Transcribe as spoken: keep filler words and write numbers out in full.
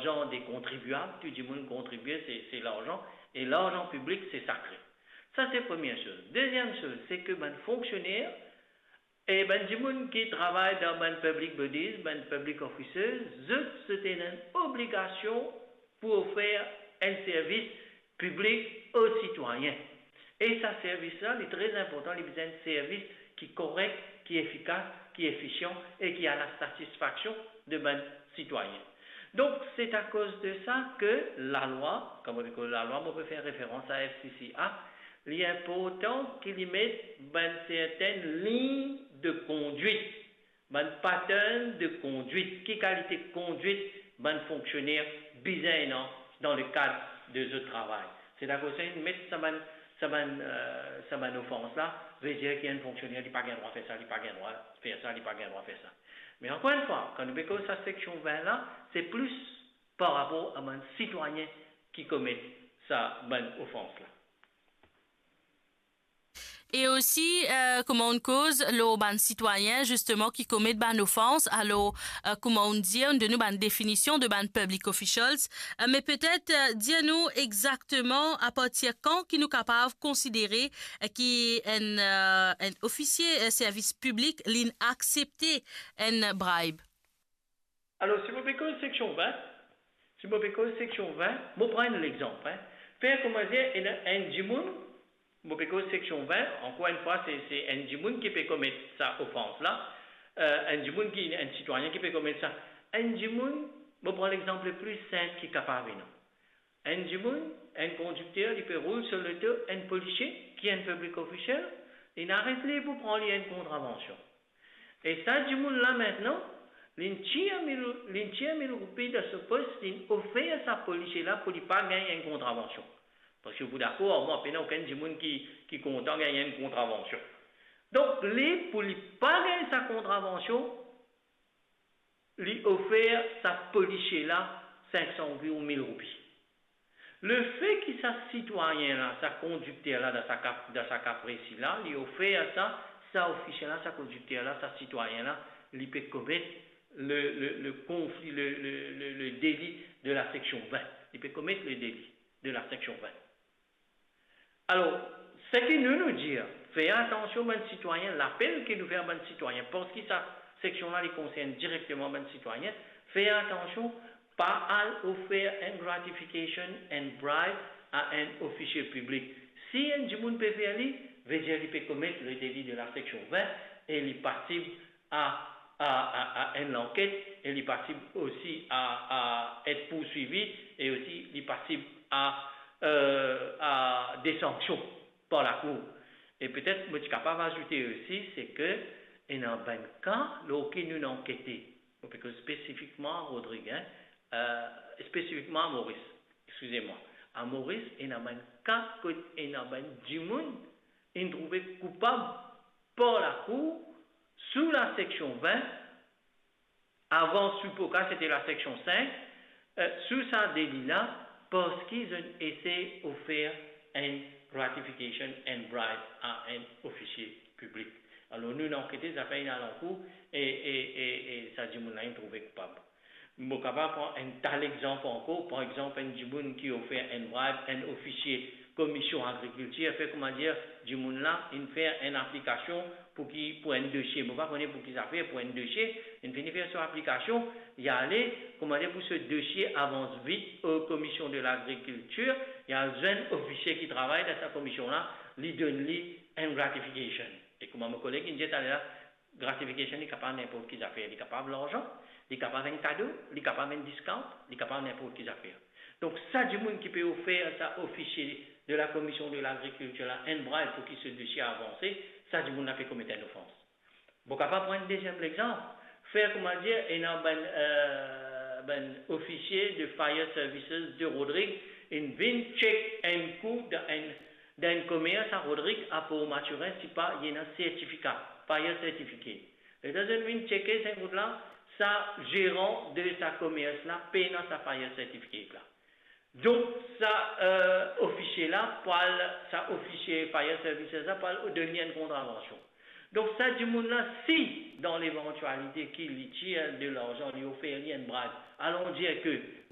larzan de kontribiab, tou dimoun kontribie, se, se larzan, e larzan piblik, se sakre. Sa, se premie soz. Deziem soz, se ke bann fonksioner, e bann dimoun ki travay dan bann public bodies, bann public officers, zot, zot ena enn obligasion pou ofer enn servis piblik o sitwayin. E sa servis la, li tre inportan, li bizin enn servis ki korek, ki efikas, ki efisian e ki a la satisfaksion de bann sitwayin. Donk, se akoz de sa ke lalwa, kan mo pe koz lalwa, mo pe fer referans a F C C Act, li inportan ki li met bann sertenn lign de kondwit, bann pattern de kondwit, ki kalite kondwit bann fonksioner bizin ena dan lekad de zot travay. Se akoz sa, inn met sa bann, sa bann, eh, sa bann ofans la, ve dir ki enn fonksioner, li pa gagn drwa fer sa, li pa gagn drwa fer sa, li pa gagn drwa fer sa. Me ankor enn fwa, kan nou pe koz sa seksion vin la, se plis par rapor a bann sitwayin ki komet sa bann ofans la. E osi, eh, kouma ou'nn koz lor bann sitwayin, zisteman, ki komet bann ofans, alor, eh, kouma ou'nn dir, ou'nn donn nou bann definision de bann public officials, eh, me petet, eh, dir nou exakteman apartir kan ki nou kapav konsidere, eh, ki enn, eh, enn ofisie, eh, servis piblik, li'nn aksepte enn bribe. Alor, si mo pe koz seksion vin, si mo pe koz seksion vin, mo pran enn lexanp, en. Fer kouma dir, ena enn dimoun, mo pe koz seksion vin, ankor enn fwa, se, se enn dimoun ki pe komet sa ofans la, eh, enn dimoun ki, enn sitwayin ki pe komet sa. Enn dimoun, mo pran lexanp le pli sinp ki kapav ena. Enn dimoun, enn kondikter, li pe roul so loto enn polisie, ki enn public official, li'nn aret li pou pran li enn kontravansion. E sa dimoun la, mintnan, li'nn tir mil, li'nn tir mil roupi dan so pos, li'nn ofer sa polisie la pou li pa gagn enn kontravansion. Parski ou pou dakor ar mwa, pena okenn dimoun ki, ki kontan gagn enn kontravansion. Donk, li, pou li pa gagn sa kontravansion, li ofer sa polisie la sink san roupi ou mil roupi. Lefe ki sa sitwayin la, sa kondikter la, dan sa ka, dan sa ka presi la, li ofer sa, sa ofisie la, sa kondikter la, sa sitwayin la, li pe komet le, le, le konfli, le, le, le, le deli de la seksion vin. Li pe komet le deli de la seksion vin. Alor, seki nou, nou dir, fer atansion bann sitwayin, lapel ki nou fer bann sitwayin, parski sa seksion la, li konsern direkteman bann sitwayin, fer atansion, pa al ofer enn gratification, enn bribe a enn ofisie piblik. Si enn dimoun pe fer li, ve dir li pe komet le deli de la seksion vin e li pasib a, a, a, a enn lanket e li pasib osi a, a et pourswivi e osi li pasib a, eh, a de sanksion par lakour. E petet mo ti kapav azoute osi, se ke ena bann ka lor ki nou ankete, mo pe koz spesifikman a Rodrig, en, eh, spesifikman a Moris, exkize mwa. A Moris, ena bann ka kot ena bann dimoun inn trouve koupab par lakour sou la seksion vin, avan sou Poca, sete la seksion sink, eh, sou sa deli la, parski zot inn esey ofer enn gratification, enn bribe a enn ofisie piblik. Alor, nou, nou ankete, zafer inn al ankour, e, e, e, e sa dimoun la inn trouve koupab. Mo kapav pran enn ta lexanp ankor, par exanp, enn dimoun ki ofer enn bribe enn ofisie Komision Agrikiltir, fer kouma dir, dimoun la inn fer enn aplikasion pou ki, pou enn dosie. Mo pa kone pou ki zafer, pou enn dosie, inn fini fer so aplikasion, li ale, kouma dir, pou so dosie avans vit o Komision de Lagrikiltir, li al zwenn ofisie ki travay dan sa komision la, li donn li enn gratification. E kouma mo koleg inn dir taler la, gratification, li kapav ninport ki zafer. Li kapav larzan, li kapav enn kado, li kapav enn discount, li kapav ninport ki zafer. Donk, sa dimoun ki pe ofer sa ofisie de la Komision de Lagrikiltir la enn bribe pou ki so dosie avanse, sa dimoun la pe komet enn ofans. Mo kapav pran enn deziem lexanp. Fer kouma dir, ena bann, eh, bann ofisie de Fire Services de Rodrig inn vinn check enn kou dan enn, dan enn komers a Rodrig, a Port Mathurin, si pa ena sertifika, fire certificate. Letan zot vinn cheke sa kou la, sa zeran de sa komers la pena sa fire certificate la. Donk, sa, eh, ofisie la, pou al, sa ofisie Fire Services la, pou al donn li enn kontravansion. Donk, sa dimoun la, si, dan levantialite ki li tir de larzan, li ofer li enn bribe, alon dir ke